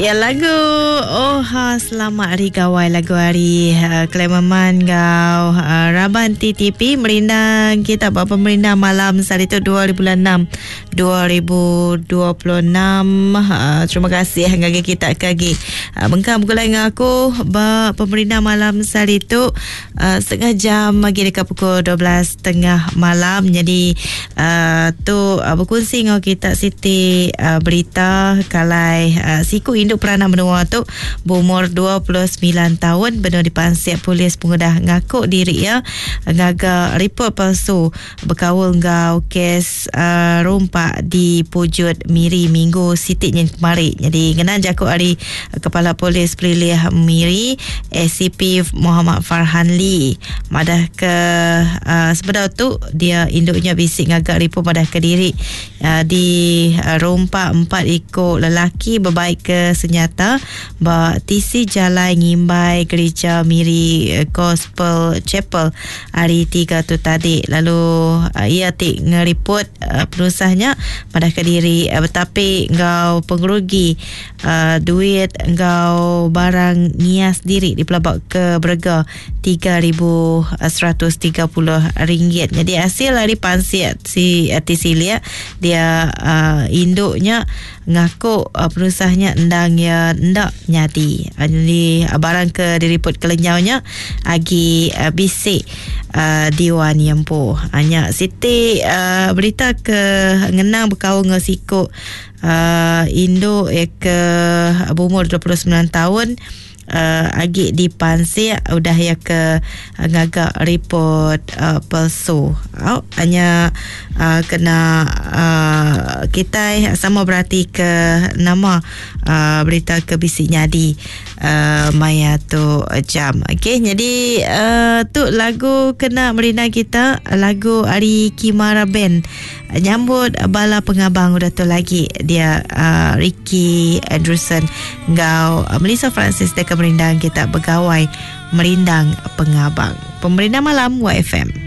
Ya lagu Oh ha selamat hari gawai lagu hari uh, Clemerman ngau uh, Raban TTP merindang kita buat pemerindang malam hari tu 2 bulan 6 2026 uh, terima kasih ngagai kita ke agi uh, bengkang begulai dengan aku ba pemerindang malam hari tu uh, setengah jam lagi dekat pukul 12.30 malam jadi uh, tu uh, berkongsi dengan kita siti uh, berita kalai uh, siku induk peranak menua tu berumur 29 tahun benar dipansik polis pengudah ngaku diri ya ngaga report palsu bekaul enggau kes uh, rompak di Pujut Miri minggu siti nyin kemari. Jadi ngena jaku ari Kepala Polis Pelilih Miri ACP Muhammad Farhan Lee madah ke uh, sebedau tu dia induknya bisi ngaga report madah ke diri uh, di uh, rompak empat iku lelaki berbaik ke senjata ba tisi jalai ngimbai gereja Miri Gospel Chapel hari tiga tu tadi lalu uh, ia ti ngeripot uh, penusahnya madah ke diri uh, betapi enggau pengerugi uh, duit enggau barang ngias diri dipelabak ke berega RM3,130. Jadi hasil dari pansik si uh, Tisilia dia uh, induknya ngaku uh, penusahnya endang ya ndak nyadi. Uh, jadi uh, barang ke diripot kelenyaunya agi uh, bisik uh, diwan yempu. Hanya Siti uh, berita ke ngenang berkaul dengan siku uh, induk ya ke berumur 29 tahun uh, agi dipansik udah ya ke uh, ngagak report uh, palsu. Oh, hanya uh, kena uh, kita sama berarti ke nama uh, berita ke bisi nyadi uh, maya tu jam. Okey, jadi uh, tu lagu kena merindang kita lagu ari Kimara Band nyambut bala pengabang udah tu lagi dia uh, Ricky Anderson ngau uh, Melissa Francis dekat merindang kita begawai merindang pengabang. Pemerindang malam YFM.